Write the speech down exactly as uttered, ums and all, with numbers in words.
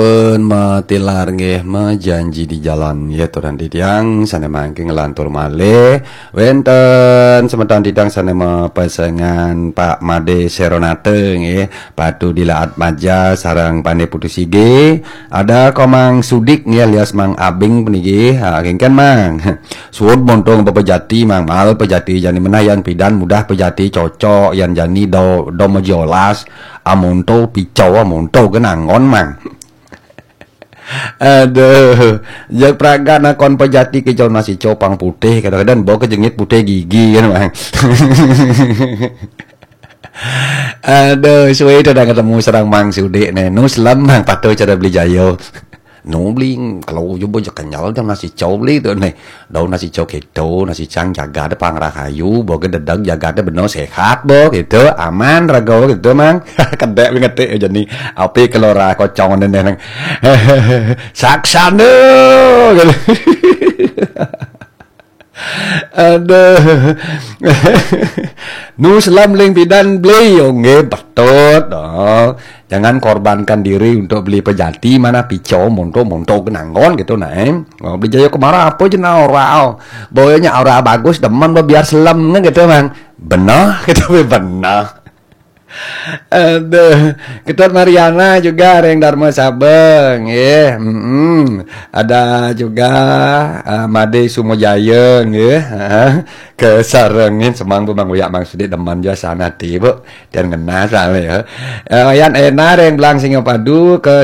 Pun matilar nggih, majanji di jalan nggih, turan titiang sané mangkin nglantur malih. Wénten semeton titiang sané mapesengan Pak Made Seronate nggih, Patu Dilaat Maja sareng Pandé Putu Sige. Ada Komang Sudik nggih alias Mang Abing puniki. Ha, kéngkén Mang. Suud monto bapa jati Mang, mal pejati jani menah yan pidan mudah pejati cocok yan jani do do majolas. Amonto picau amonto genanggon Mang. Aduh, jak pragat nakon pejati kicau nasi cau pang putih kadang-kadang bawa ke jengit putih gigi kan Mang. Aduh, suwe tu dah ketemu sareng Mang Sudik nih. Nu selem Mang patuh cara beli jayo. Nu beli kalau juga je kenyal jam nasi cau beli tu nih. Daun nasi cau keto, nasi cang jaga ada pang rahayu, bawa ke dedag jaga ada benar sehat bo gitu, aman raga gitu Mang. Kedek beli ngetik jadi api kelora kocong dan neng. Saksana gitu. Aduh. Nu selem ling pidan beli, oh, nggih, betul. Oh. Jangan korbankan diri untuk beli pejati, mana picau, monto, monto genanggon gitu nah. Eh. Oh, beli jayo kemara apa je nah ora. Oh. Boyanya ora bagus, demen bo biar selem gitu Mang. Benar gitu benar. Aduh, Ketut Mariana juga ring Dharma Sabeng, nggih. Mm-mm. Ada juga uh, Made Sumojaya, nggih. Heeh. Kesarengin semang bu Mang Uyak Mang Sudik demen jua sana ti, Bu. Dan ngena soalnya ya. Uh, Yan Ena ring Belang Singapadu ke